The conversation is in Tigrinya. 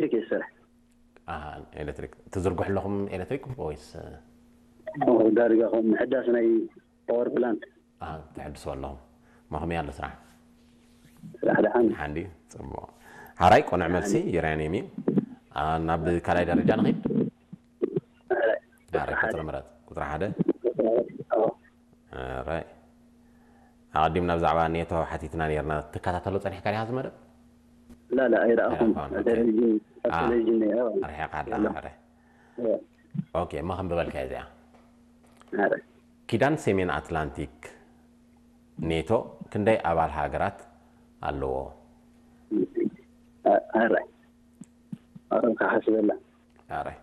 ኤሌክትሪክ ይሰርሕ። ኣሃ፣ ኤሌክትሪክ ትዝርግሑ ኣለኹም ኤሌክትሪክ ወይስ ዳርጋ ከም ምሕዳስ ናይ ፓወር ፕላንት። ኣሃ፣ ትሕድሱ ኣለኹም? መኸመይ ኣሎ ስራሕ? ስራሕ ደሓን። ሓንዲ ጽቡቕ። ሓራይ ቆንዕ መልሲ ዩራኒየም እዩ። ናብ ካልኣይ ደረጃ ንኺድ። ሓራይ ቁፅሪ ምረጥ። ቁፅሪ ሓደ። ኣራይ ኣቐዲምና ብዛዕባ ኔቶ ሓቲትና ነርና። ትከታተሎ ፀኒሕካ ዲኻ ዝመደብ? ላ ላ ኣይረኣኹም። ቴሌቪዥን ኣብ ቴሌቪዥን ርሒቓ ኣለኻ። ኦኬ፣ እሞ ከም ዝበልካ እዚኣ ኪዳን ሰሜን ኣትላንቲክ ኔቶ ክንደይ ኣባል ሃገራት ኣለዎ? ኣራይ ኣራይ ክሓስበላ። ኣራይ